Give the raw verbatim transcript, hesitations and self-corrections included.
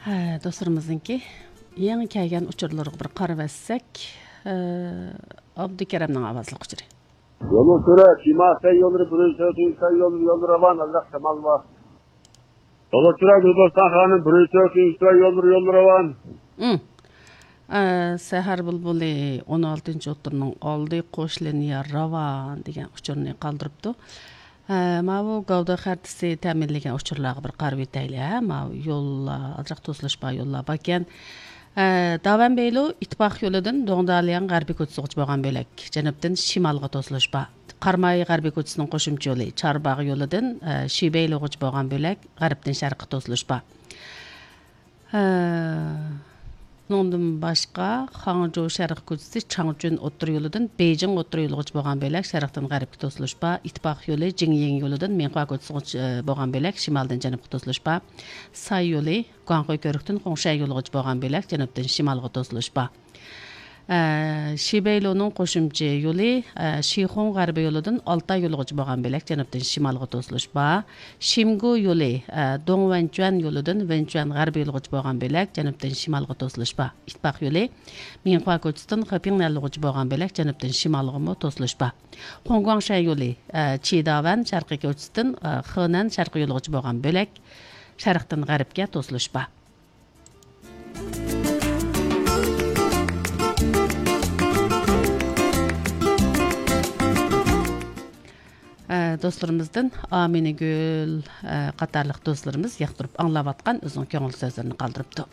ھە، دوستلىرىمىزنىڭكى يېڭى كەلگەن ئۇچۇرلىرىغا بىر قارىۋەتسەك، ئە، ئابدۇكېرەمنىڭ ئاۋازلىق ئۇچۇرى. يولۇ سۈرە، شىما سەي يوللىرى، بىرىنچى سەي يوللىرى، يوللىرى راۋان، ئازراق شامال بار. يولۇ سۈرە، گۈلبوستان خانىم، بىرىنچى سەي يوللىرى، يوللىرى راۋان. ئىم. ئە، سەھەر بۇلبۇلى ئون ئالتىنچى ئوتتۇرىنىڭ ئالدى، قوش لىنىيە راۋان دېگەن ئۇچۇرنى قالدۇرۇپتۇ. ھە، ماۋۇ گەۋدە خەرىتىسى تەمىنلىگەن ئۇچۇرلارغا بىر قارىۋېتەيلى، ھە؟ ماۋۇ يوللار ئازراق توسۇلۇش بار، يوللار باركەن. ھە، داۋەن بېيلۇ ئىتتىپاق يولىدىن دوڭدالياڭ غەربىي كوچىسىغىچە بولغان بۆلەك جەنۇبتىن شىمالغا توسۇلۇش بار. قاراماي غەربىي كوچىسىنىڭ قوشۇمچە يولى چارباغ يولىدىن، ھە، شىبەيلۇغىچە بولغان بۆلەك غەربتىن شەرققە توسۇلۇش بار. ھە، ئۇنىڭدىن باشقا، خاڭجۇ شەرق كوچىسى چاڭچۈن ئوتتۇرا يولىدىن بېيجىڭ ئوتتۇرا يولىغىچە بولغان بۆلەك شەرقتىن غەربكە توسۇلۇش بار. ئىتتىپاق يولى جىڭيىڭ يولىدىن مىڭخۇا كوچىسىغىچە، ئە، بولغان بۆلەك شىمالدىن جەنۇبقا توسۇلۇش بار. ساي يولى گۇاڭخۇي كۆۋرۈكتىن خۇڭشەن يولىغىچە بولغان بۆلەك جەنۇبتىن شىمالغا توسۇلۇش بار. ئە، شىبەيلۇنىڭ قوشۇمچە يولى، ئە، شىخۇڭ غەربىي يولىدىن ئالتاي يولىغىچە بولغان بۆلەك جەنۇبتىن شىمالغا توسۇلۇش بار. شىمگۇ يولى، ئە، دوڭ ۋەنچۈەن يولىدىن ۋەنچۈەن غەربىي يولىغىچە بولغان بۆلەك جەنۇبتىن شىمالغا توسۇلۇش بار. ئىتتىپاق يولى مىڭخۇا كوچىسىدىن خېپىڭنەن يولىغىچە بولغان بۆلەك جەنۇبتىن شىمالغىمۇ توسۇلۇش بار. خۇڭگۇاڭشەن يولى، ئە، چىداۋەن شەرقىي كوچىسىدىن، ئە، خېنەن شەرقىي يولىغىچە بولغان بۆلەك شەرقتىن غەربكە توسۇلۇش بار. ئە، دوستلىرىمىزدىن ئامىنىگۈل، ئە، قاتارلىق دوستلىرىمىز ياقتۇرۇپ ئاڭلاۋاتقان ئۆزىنىڭ كۆڭۈل سۆزلىرىنى قالدۇرۇپتۇ.